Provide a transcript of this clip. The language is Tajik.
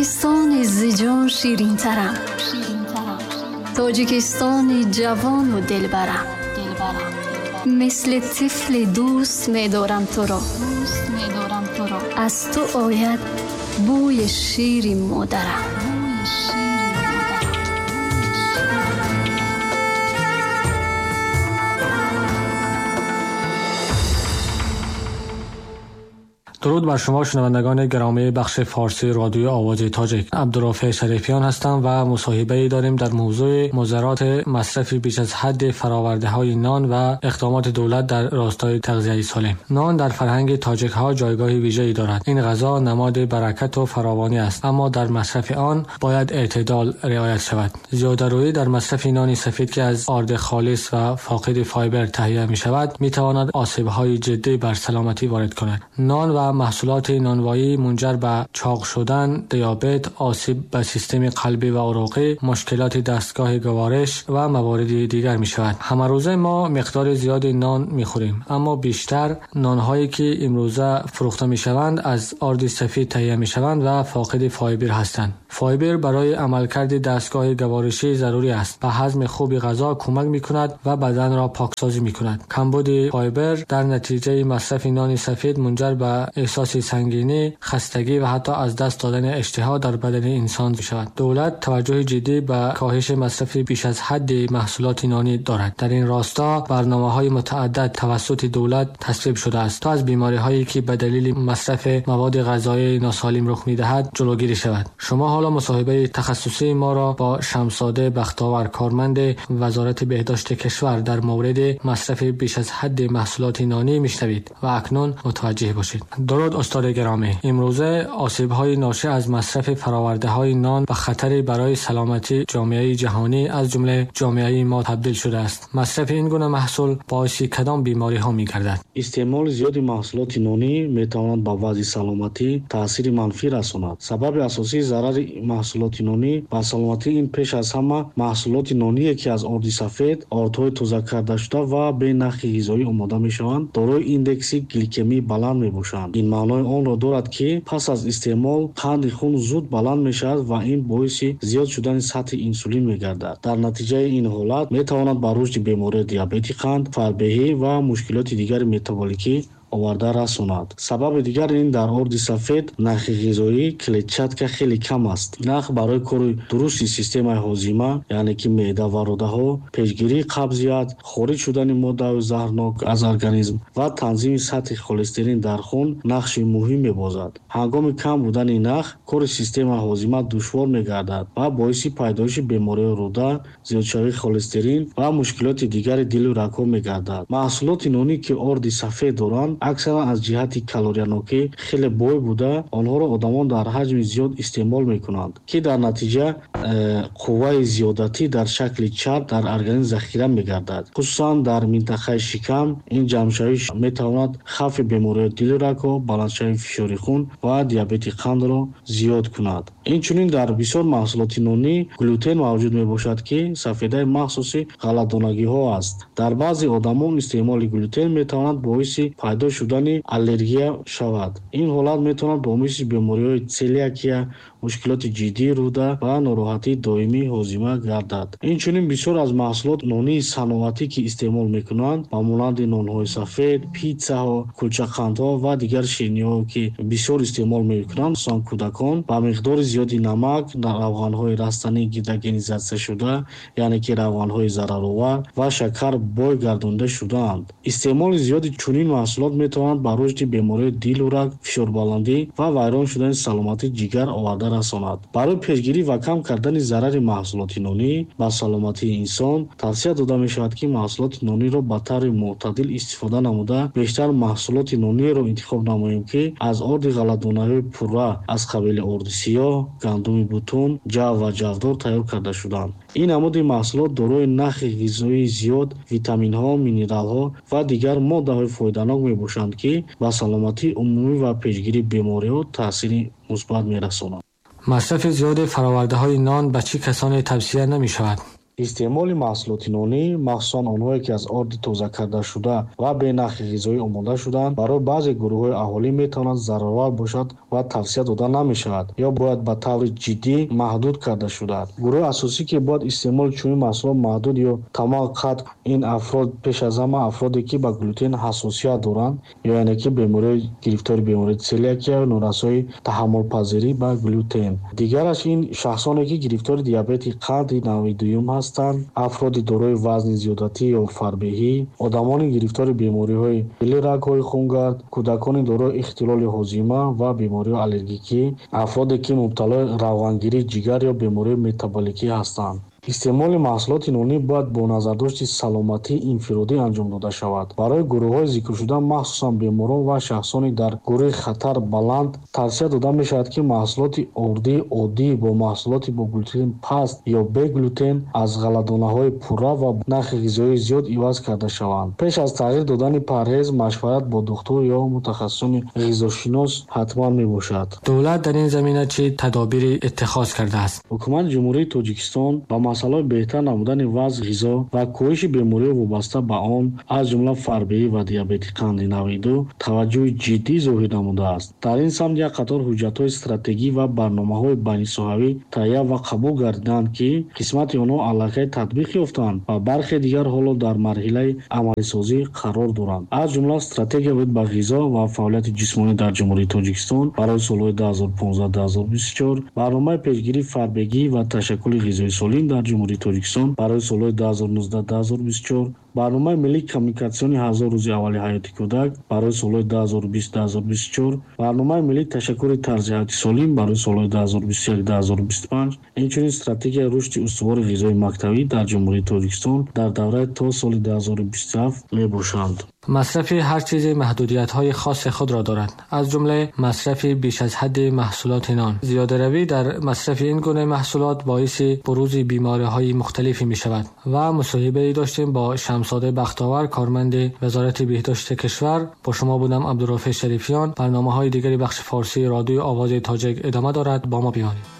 Тоҷикистони зиҷон ширинтарам, Тоҷикистони ҷавону дилбарам, мисли тифли дӯст медорам туро, аз ту ояд бӯи шири модарам. درود بر شما شنوندگان گرامی بخش فارسی رادیو آواز تاجیک. عبدالرافع شریفیان هستم و مصاحبه‌ای داریم در موضوع مضرات مصرف بیش از حد فراورده‌های نان و اقدامات دولت در راستای تغذیه سالم. نان در فرهنگ تاجیک‌ها جایگاه ویژه‌ای دارد. این غذا نماد برکت و فراوانی است، اما در مصرف آن باید اعتدال رعایت شود. زیاده‌رویی در مصرف نان سفید که از آرد خالص و فاقد فایبر تهیه می‌شود، می‌تواند آسیب‌های جدی بر سلامتی وارد کند. نان و محصولات نانوایی منجر به چاق شدن، دیابت، آسیب به سیستم قلبی و عروقی، مشکلات دستگاه گوارش و موارد دیگر می شود. همه روزه ما مقدار زیاد نان می خوریم، اما بیشتر نانهایی که امروزه فروخته می شوند از آرد سفید تهیه می شوند و فاقد فایبر هستند. فایبر برای عملکرد دستگاه گوارشی ضروری است. به هضم خوب غذا کمک می کند و بدن را پاکسازی می کند. کمبود فایبر در نتیجه مصرف نان سفید منجر به احساس سنگینی، خستگی و حتی از دست دادن اشتها در بدن انسان می شود. دولت توجه جدی به کاهش مصرف بیش از حد محصولات نانی دارد. در این راستا برنامه‌های متعدد توسط دولت تصویب شده است تا از بیماری‌هایی که به دلیل مصرف مواد غذایی ناسالم رخ می‌دهد جلوگیری شود. شما حالا مصاحبه تخصصی ما را با شمساده بختاور، کارمند وزارت بهداشت کشور، در مورد مصرف بیش از حد محصولات نانی می‌شنوید و اکنون متوجه باشید. درود استاد گرامی. امروزه آسیب‌های ناشی از مصرف فراورده‌های نان به خطری برای سلامتی جامعه جهانی از جمله جامعه ما تبدیل شده است. مصرف این گونه محصول باعث کدام بیماری‌ها می‌گردد؟ استعمال زیاد محصولات نانی می‌تواند به وضع سلامتی تاثیر منفی رساند. سبب اساسی ضرر محصولات نانی به سلامتی این پیش از همه محصولات نانی که از آرد سفید، آردهای تازه کرده شده و به نخ غذایی آماده می‌شوند، دارای ایندکس گلیکمی بلند می‌باشند. این معنای آن را دارد که پس از استعمال قند خون زود بلند می‌شود و این باعث زیاد شدن سطح انسولین می‌گردد. در نتیجه این حالت می‌تواند به رشد بیماری دیابت قند، فربهی و مشکلات دیگر متابولیکی оварда расонад. Сабаби дигар ин дар орди сафед нахи ғизоӣ клетчатка хеле кам аст. Нах барои кори дурусти системаи ҳозима, яъне ки меъда ва рӯдаҳо, пешгирии қабзият, хориҷ шудани моддаҳои заҳрнок аз организм ва танзими сатҳи холестерин дар хун нақши муҳим мебозад. Ҳангоми кам будани нах, кори системаи ҳозима душвор мегардад ва боиси пайдоиши бемориҳои рӯда, зиёдшавии холестерин ва мушкилоти дигари дилу рагҳо мегардад. Маҳсулоти нонӣ ки орди сафед доранд, аксаран аз ҷиҳати калориянокӣ хеле бой буда, онҳоро одамон дар ҳаҷми зиёд истеъмол мекунанд, ки дар натиҷа қувваи зиёдатӣ дар шакли чарб дар организм захира мегардад. Хусусан дар минтақаи шикам ин ҷамъшавӣ метавонад хавфи бемориҳои дилу рагҳо, баландшавии фишори хун ва диабети қандро зиёд кунад. Инчунин дар бисёр маҳсулоти нонӣ глютен мавҷуд мебошад, ки сафедаи махсуси ғалладонагиҳо аст. Дар баъзе одамон истеъмоли глютен метавонад боиси пайдо шудани аллергия шавад. Ин ҳолат метавонад боиси бемориҳои целиакия, мушкилоти ҷиддии рӯда ва нороҳатии доимии ҳозима гардад. Инчунин бисёр аз маҳсулот нонии саноатӣ ки истеъмол мекунанд, ба монанди нонҳои сафед, питсаҳо, кулчақандҳо ва дигар ширинӣҳо ки бисёр истеъмол мекунанд, хусусан кӯдакон, ба миқдори зиёди намак, равғанҳои растанӣ гидрогенизатсия шуда, яъне ки равғанҳои зараровар ва шакар бой гардонда шудаанд. Истеъмоли зиёди чунин маҳсулот метавонад ба рушди бемориҳои дилу раг, фишорбаландӣ ва вайрон шудани саломатии ҷигар оварда расонад. Барои пешгирӣ ва кам кардани зарари маҳсулоти нонӣ ба саломатии инсон тавсия дода мешавад, ки маҳсулоти нониро ба таври мӯътадил истифода намуда, бештар маҳсулоти нониро интихоб намоем, ки аз орди ғалладонаҳои пурра аз қабили орди сиёҳ, гандуми бутун, ҷав ва ҷавдор тайёр карда шуданд. Ин намуди маҳсулот дорои нахи ғизоии зиёд, витаминҳо, минералҳо ва дигар моддаҳои фоиданок мебошанд, ки ба саломатии умумӣ ва пешгирии бемориҳо таъсири мусбат мерасонанд. مصرف زیاد فراورده‌های نان به چه کسانی توصیه نمی‌شود؟ Истеъмоли маҳсулоти нонӣ, махсусан онҳое ки аз орди тоза карда шуда ва бе нахи ғизоӣ омода шудаанд, барои баъзе гурӯҳҳои аҳолӣ метавонад зараровар бошад ва тавсия дода намешавад ё бояд ба таври ҷиддӣ маҳдуд карда шудад. Гурӯҳи асосӣ ки бояд истеъмоли чунин маҳсулот маҳдуд ё тамоман қатъ, ин афрод пеш аз ҳама афроде ки ба глютен ҳассосият доранд, ё яъне ки гирифтори бемории целиакия, норасоии таҳаммулпазирӣ ба глютен. Дигараш ин шахсоне ки гирифтори диабети қанди навъи дуюм ҳастанд, афроди дорои вазни зиёдатӣ ё фарбеҳӣ, одамони гирифтори бемориҳои дили рагҳои хунгард, кӯдакони дорои ихтилоли ҳозима ва бемориҳои аллергикӣ, афроде ки мубталои равғангирии ҷигар ё бемориҳои метаболикӣ ҳастанд. Истеъмоли маҳсулоти нонӣ бояд бо назардошти саломатии инфиродӣ анҷом дода шавад. Барои гурӯҳҳои зикршуда, махсусан беморон ва шахсони дар гурӯҳи хатар баланд, тавсия дода мешавад, ки маҳсулоти ордии оддӣ бо маҳсулоти бо глютен паст ё бе глютен аз ғалладонаҳои пурра ва нахи ғизоии зиёд иваз карда шаванд. Пеш аз тағйир додани парҳез, машварат бо духтур ё мутахассисони ғизошинос ҳатман мебошад. Давлат дар ин замина чӣ тадобире иттихоз кардааст? Ҳукумати Ҷумҳурии Тоҷикистон ба масъалаҳои беҳтар намудани вазъи ғизо ва коҳиши бемориҳои вобаста ба он, аз ҷумла фарбеҳӣ ва диабети қанди навъи ду, таваҷҷӯҳи ҷиддӣ зоҳир намудааст. Дар ин самт як қатор ҳуҷҷатҳои стратегӣ ва барномаҳои байнисоҳавӣ таҳия ва қабул гардиданд, ки қисмати онҳо аллакай татбиқ ёфтанд ва бархе дигар ҳоло дар марҳилаи амалисозӣ қарор доранд. Аз ҷумла стратегия оид ба ғизо ва фаъолияти ҷисмонӣ дар Ҷумҳурии Тоҷикистон барои солҳои 2015-2024, барномаи пешгирии фарбегӣ ва ташаккули ғизои солим дар Ҷумҳурии Тоҷикистон барои солҳои 2019-2024, барномаи миллии коммуникатсиони 1000 рӯзи аввали ҳаёти кӯдак барои солҳои 2020-2024, барномаи миллии ташаккули тарзи ҳаёти солим барои солҳои 2021-2025, инчунин стратегияи рушди устувори ғизои мактабӣ дар Ҷумҳурии Тоҷикистон дар давраи то соли 2027 мебошанд. Масрафи ҳар чизе маҳдудиятҳои хоси худро дорад, аз ҷумла масрафи беш аз ҳадди маҳсулоти нон. Зиёдаравӣ дар масрафи ин гуна маҳсулот боиси бурузи бемориҳои мухталифе мешавад ва мусоҳибае доштем бо Шамсода Бахтовар, корманди Вазорати беҳдошти кишвар. Бо шумо будам Абдурофеъ Шарифиён. Барномаҳои дигари бахши форсии радиои Овози Тоҷик идома дорад. Бо мо бимонед.